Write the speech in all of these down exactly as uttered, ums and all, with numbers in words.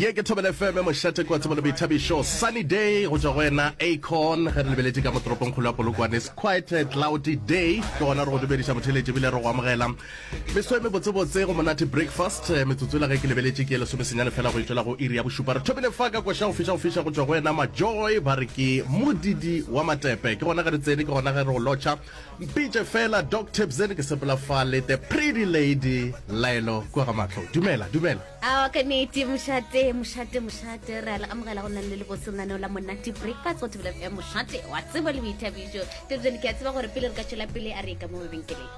Ye ke Thobela F M, mošate kwa tsebo le boithabišo. Sunny day go tšwa go wena Akon. Ge re lebeletše ka mo toropongkgolo ya Polokwane, it's quite a cloudy day. Ke gona re go dumediša motheeletši ebile re go amogela meso e mebotsebotse go Monate Breakfast. Eh, metsotso la ge ke lebeletše ke e lesomesenyane fela go e tšwela go iri ya bošupa. Re thomile fa ka koša go fiša go fiša go tšwa go wena Majoy, ba re ke modidi wa matepe. Ke gona ge re tsene, ke gona ge re go lotšha. Mpitše fela Doc Tebzen, ke sepela fa le the pretty lady Laelo kua ga mahlo. Dumela, dumela. Aowa, ka nnete, mošate, mošate, mošate, re a le amogela go nna le lebose lenaneo la Monate Breakfast go Thobela F M, mošate wa tsebo le boithabišo. Tebjane, ke a tseba gore pele re ka tšwela pele, a re ye ka mo mabenkeleng.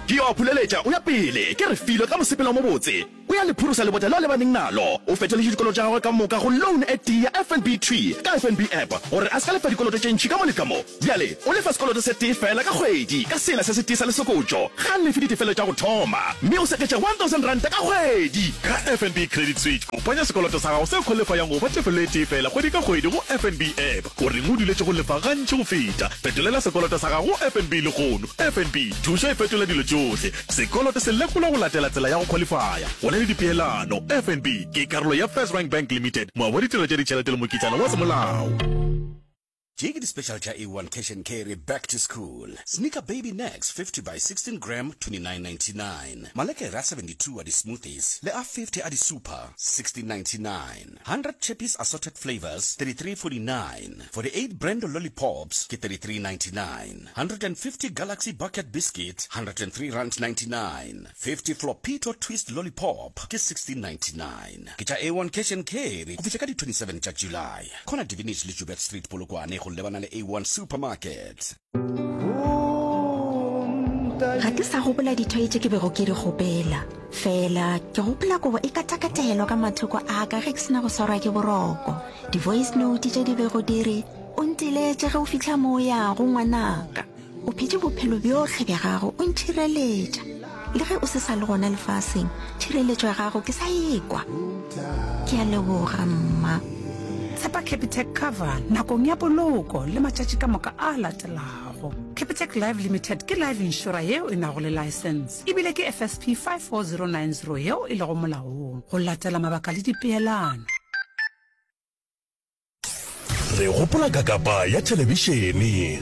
Ke yo a phuleletša o ya pele, ke Refilwe ka mosepelo o mobotse. O ya le phurosa lebota leo a lebaneng nalo. O fetoletše dikoloto tša gagwe ka moka go loan e tee ya F N B thwi ka F N B app gore a se ka lefa dikoloto tše ntši ka mo le ka mo. Bjale o lefa sekoloto se tee feela ka kgwedi ka sela se setee sa lesokotšo. Ga a lefe ditefelo tša go thoma mme o seketša one thousand ranta ka kgwedi. Ka F N B Credit Switch, kopanya sekoloto sa gago se khwalifayang go ba tefelo e tee feela kgwedi ka kgwedi go F N B app. O reng o duletše go lefa gantši go feta? Fetolela sekoloto sa gago go F N B lehono. F N B, thušo e fetola dilo tšohle. Sekoloto se lekolwa go latela tsela ya go khwalifaya. Go na le dipeelano. F N B ke karolo ya FirstRand Bank Limited, moabi wa ditirelo tša ditšhelete le mokitlana wa semolao. Tše ke di-special tša A one Cash and Carry Back to School. Sneaker Baby Nex fifty by sixteen gram twenty-nine ninety-nine. Malekere a seventy-two a di-smoothies le a fifty a di-super sixteen ninety-nine. one hundred Chippies assorted flavors thirty-three forty-nine. forty-eight Brando lollipops ke thirty-three ninety-nine. one hundred fifty Galaxy bucket biscuit one hundred three rand ninety-nine. fifty Flopito twist lollipop ke sixteen ninety-nine. Ke tša A one Cash and Carry go fihla ka di twenty-seven tša July. Corner Divinity le Joubert Street, Polokwane, go lebana le A one Supermarket. Ga ke sa gopola dithoi tše ke bego ke di kgopela, fela ke gopola kobo e katakatelwa ka mathoko a ka ge ke sena go swarwa ke boroko, di-voice note tše di bego di re, "O nteletše ge o fitlha mo o yago, ngwanaka. O phetše bophelo bjohle bja gago o ntšhireletša. Le ge o se sa le gona lefaseng, tšhireletšo ya gago ke sa ekwa. Ke a leboga, mma." Tshepa Capitec Cover nakong ya poloko le matšatši ka moka a latelago. Capitec Life Limited ke life insurer yeo e nago le license ebile ke F S P five four zero nine zero yeo e lego molaong go latela mabaka le dipeelano. Re gopola kakapa ya thelebišene.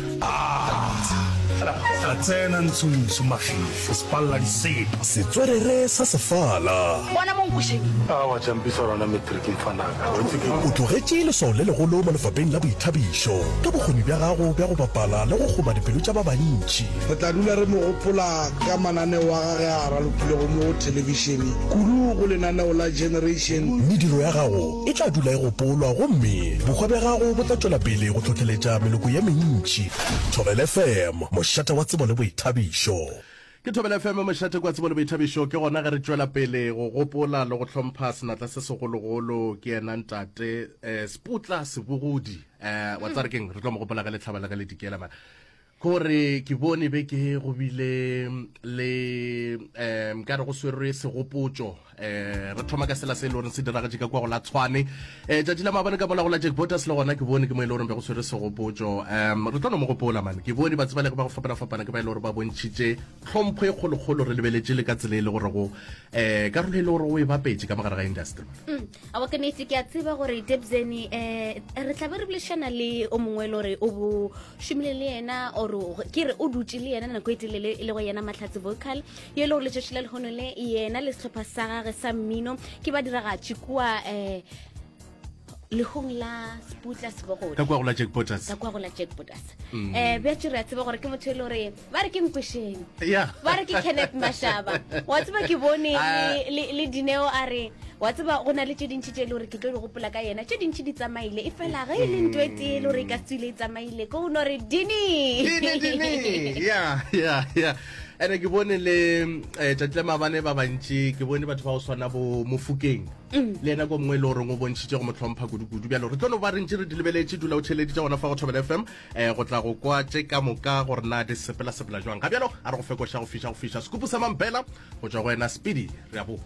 A tsena ntshontsho mafifi sepalla disepa. Setswerere sa sefala. Bona mo nkošeng. Awa champisa rona matric mfanaka wa itse ke. O tlogetše leswao le legolo mo lefapheng la boithabišo ka bokgoni bja gago bja go bapala le go kgoma dipelo tša ba bantši. Re tla dula re mo gopola ka mananeo a gage a ralokilego mo thelebišene, kudu go lenaneo la Generation. Mediro ya gago e tla dula e gopolwa gomme bohwa bja gago bo tla tšwela pele go hlohleletša meloko ye mentši. Thobela F M, mošate wa tsebo le boithabišo. Ke Thobela F M, mošate kwa tsebo le boithabišo. Ke gona ge re tšwela pele go gopola le go hlompha senatla se segologolo, ke yena ntate um Seputla Sebogodi. um wa tsare keng, re tlo mo gopola ge le tlhaba le ge le dikela man. Kore ke bone beke go bile le um ka re go swerwe segopotšo, um re thoma ka sela se e le goreng se diragetše ka kwa go la Tshwane um tšatši la maabane ka mola go la Jack Botas, le gona ke bone ke mo e le goreng be go swerwe segopotšo. um re tlo no mo gopola man. Ke bone batsebalegi ba go fapana-fapana ke ba e le gore ba bontšhitše tlhompho e kgolokgolo, re lebeletše le ka tsela e le gore go um karolo e le gore o e bapetše ka mogare ga industry. Mm, awa ke nnete, ke a tseba gore Debzene um re tla be re boledišana le o mongwe e le gore o bo šomile le yena, or ke re o dutše le yena nako e telele, e le go yena Mahlatse Vocal ye e le gore letšatši la lehono le yena le sehlopha sa gage sa mmino ke ba diragatše kua um lehong la Seputla Sebogodi. Ka kua go la Jack Botas. Ka kua go la Jack Botas. um bjatše re a tseba gore ke motho e le gore ba re ke nkwešeng, ya ba re ke Kenneth Mashaba. Wa tseba ke bone Ah. le- le le Dineo a re, wa tseba go na le tše dintšhi tše e le gore ke tlo di gopola ka yena, tše dintšhi di tsamaile, e fela ge e le nto e tee e le gore e ka tswile e tsamaile ko o no re Dini. Dini, Dini, ya ya ya ene ke bone le eh, tšatši la maabane ba bantši, ke bone batho ba go swana bo Mofokeng le yena ko mongwe e le goreng o bontšhitše go mo hlompha kudu-kudu. Bjalo re tlo no ba re ntše re di lebeletše. Dula o tšheleditše gona fa go Thobela F M um go tla go kwa tše ka moka gore na di sepela-sepela jwang. Ga bjalo a re go fekoša go fiša go fiša sekupu sa mampela go tšwa go wena Speedy. Re a boa.